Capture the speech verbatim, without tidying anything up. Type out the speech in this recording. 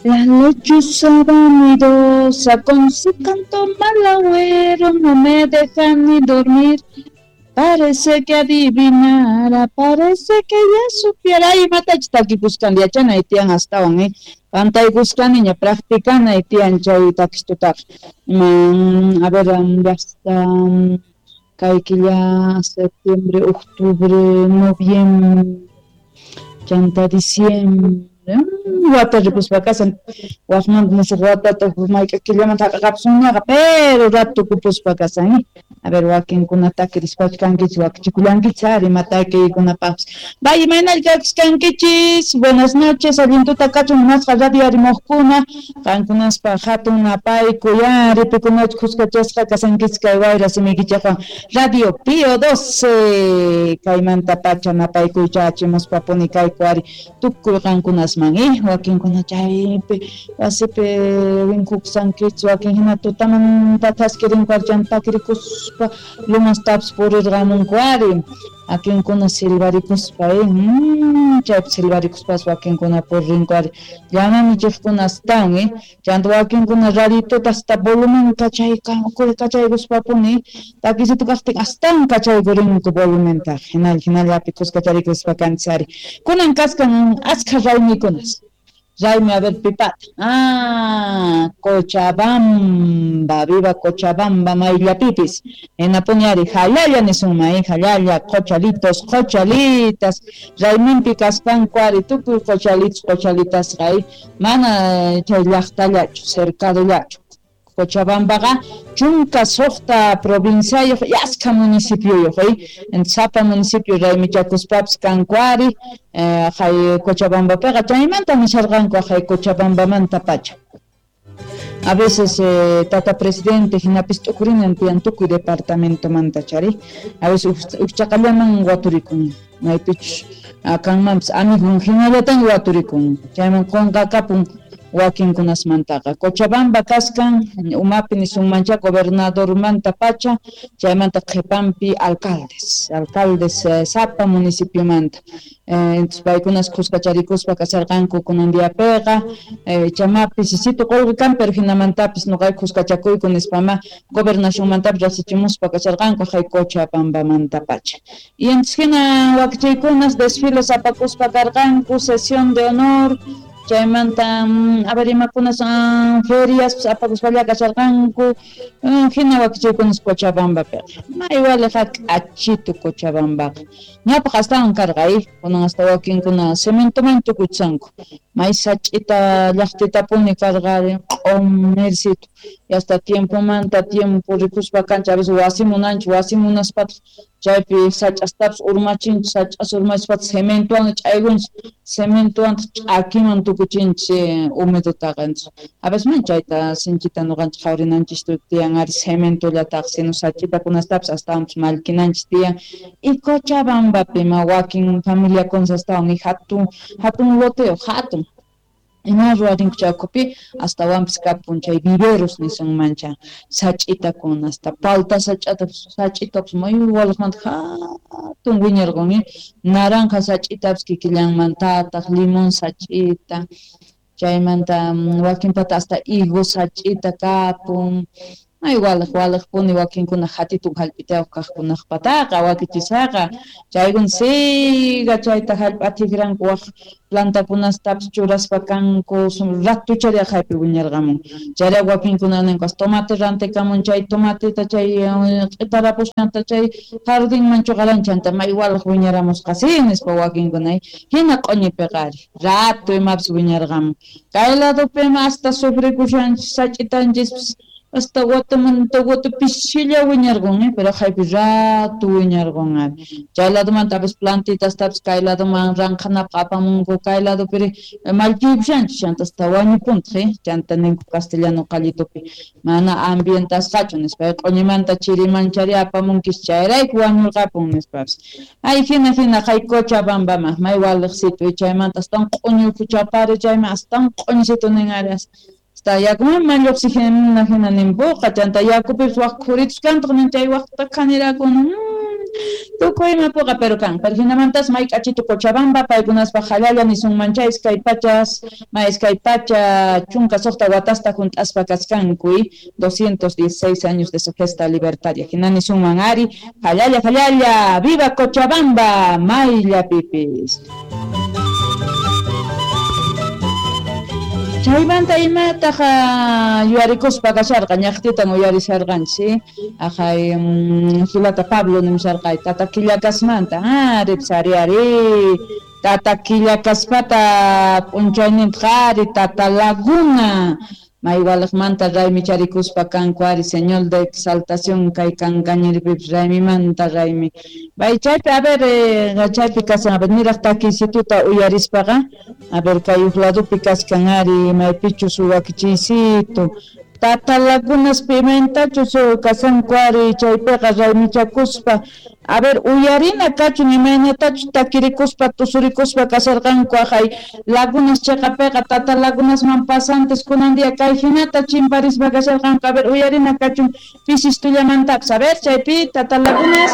La lechuza vanidosa con su canto malagüero no me deja ni dormir. Parece que adivinara, parece que ya supiera. Ay, matach takikuskan yachanay tiyan astawan, eh. Pantaykusqaniña practicanay tiyan chay takistutaqa. Mm, a ver, ya está, kay killa septiembre, octubre, noviembre, chanta diciembre. Wata ripuspa kasan, waqmanta musuq watata mayk'a killamanta hap'iqapusunñaqa, pero rato kupuspa kasan, eh. A ver, wakinkuna takirispachu kankichis, wakichikullankichis ari ima takiykunapaqpis. Vaya, imaynalla kankichis, buenas noches, allin tuta kachun munasqa radio arimuqkuna, qankunaspa hatun napayku ya ripikunach kuskachasqa kasankichis kay wayra simiykichikwan Radio Pío doce, kaymanta pacha napaykuy chachimuspapuni kayku ari tukuy qankunasman, eh, wakinkuna chaypi wasipi winkuqsankichis, wakin hina tutamanta thaskirinku ari chanta takirikuspa lumastapis purirqamunku ari, wakinkuna silvarikuspa, eh, mm, chaypi silvarikuspas wakinkuna puririnku ari, llama astawan, eh, chanta wakinkuna radituta hasta volumen kachayka kachaykuspapuni, takisitu kaqtin astawan kachaykurinku volumentaqa, hinalla hinallapi kuskacharikuspa kanchis ari. Kunan kaskan askha raymikunas. Raymi, a ver, pipata. Ah, Cochabamba, viva Cochabamba, mayllapipis. Hinapuni ari, jalalla nisunman, eh, jalalla, qochalitos, qochalitas. Rayminpi kaspanku ari, tukuy qochalitos, qochalitasqa, eh, mana chay llaqtallachu, cercadollachu. Cochabambaqa chunka suqta provinciayuq y askha municipioyuq, eh, sapa municipio raymichakuspapis kanku ari, eh, hay Cochabambapiqa chaymanta nisharqanku hay Cochabambamanta pacha. A veces eh, tata presidente hinapis t'ukurinan tiyan tukuy departamentomanta chari, a veces uchaqallaman waturikun, maypichus kanmanpis amigun hinallatan waturikun, chayman qunqakapun wakinkunasmantaqa. Cochabamba kaskan umapi nisunmancha gobernadormanta pacha, chaymanta qhipanpi alcaldes, alcaldes eh, sapa municipiomanta. Eh, entonces paykunas kuskacharikuspa kasarqanku kunan diapiqa, eh, chamapis sisitu qullqi kan, pero hinamantapis nuqayku kuskachakuyku nispama gobernacionmantapis rasichimuspa kasarqanku hay Cochabambamanta pacha. Y entonces hina wakichaykunas desfiles apakuspa karqanku, sesión de honor, chaymanta a ver imakunas ferias apakuspalla kasharqanku, hina wakichaykunas Cochabambapiqa. May waliqa k'achitu Cochabambaqa. Ñawpaq astawan karqa, eh, kunan hasta wakinkuna cementoman tukuchanku. May sach'ita llaqtitapuni karqa q'umirsitu. Y hasta tiempomanta tiempo rikuspa kancha, a veces wasi munanchik, wasi munaspataq chaypi sach'astapis urmachinchik, sach'as urmachispataq cementowan ch'aykunchik, cementowan ch'akiman tukuchinchik humedutaqa. Entonces a veces man chayta sinchita nuqanchik qhawarinanchik tiyan ari cementollataqa, sino sach'itakunastapis astawanpis mallkinanchik tiyan. Y Cochabambapi ma wakin familiakunas astawan y hatun hatun loteo, hatun. Ima ruwarinku chaykupi astawanpis kapun chay viveros nisunmancha, sach'itakuna hasta palta sach'atapis sach'itapis may waliqmanta hatun wiñarqun, eh, naranja sach'itapis kikillanmantataq, limón sach'ita, chaymanta wakinpata hasta higo sach'ita kapun. May waliq waliqpuni wakinkuna hatitun hallp'itayuq kaqkunaqpataqa wakichisaqa, chaykuna siga chayta hallp'a tikranku waq plantakunastapis churaspa kanku, ratuchari haypi wiñarqamun. Chayrayku wakinkuna ninku tomate rantikamun chay tomateta chay q'itarapusqanta chay jardinman chuqaran chanta may waliq wiñaramusqa si nispa wakinkuna, hina q'uñipiqa ari rato imapis wiñarqamun. Kay ladupima hasta sufrikushanchis sach'itanchispis hasta watamanta wata pisilla wiñarqun, eh, pero haypi rato wiñarqun ari. Chay ladumantapis plantitastapis kay laduman ranqhanapaq apamunku, kay ladupiri mallkiypushanchik chanta hasta wañupuntaq, eh, chanta ninku castellano qallitupi mana ambientasqachu nispa, q'uñimanta chirimanchari apamunkis chayrayku wañurqapun nispapis. Ay hina hina hay Cochabambama may waliqsitu, chaymanta astawan q'uñi ukhuchapari, chayman astawan q'uñisitu nin ari. Hasta yakuman lluqsijina hina nimpuqa, chanta yakupipis waq khuritus kantaq nin chay waqta khaniraku, Tukuy imapuqa pero kan. Pero hinamantas may k'achitu Cochabamba, paykunaspaq jallalla nisunman chay iskay pachas, may iskay pacha chunka suqta watasta junt'aspa kaskanku, doscientos dieciséis años de su gesta libertaria. Hina nisunman ari, jallalla, jallalla, viva Cochabamba, mayllapipis. Chaymanta imataq yuyarikuspa kasharqa, ñaqtitan uyarisharqanchik, ajay hilata Pablo nimusharqay, tata Quillacasmanta, ah, ripis ari ari, tata Quillakaspata p'unchayninta ari, tata Laguna, maywaliqmanta raymicharikuspa kanku ari, señor de exaltación kay kankañiripipis raymimanta raymi. Bay chaypi, a ver, eh, chaypi kasan, a ver, niraq takiysituta uyarispaqa, a ver, kay uj ladopi kaskan ari, maypichus wakichiysitu, tata Lagunaspi imaynatachus kasanku ari, chaypiqa raymichakuspa, a ver, uyarina kachun imaynatachus takirikuspa, tusurikuspa kasharqanku ajay Lagunas cheqapiqa, tata Lagunasman pasantes kunan día kay hinata chimparispa kasharqanku, a ver, uyarina kachun pisistullamantapas, a ver, chaypi tata Lagunas.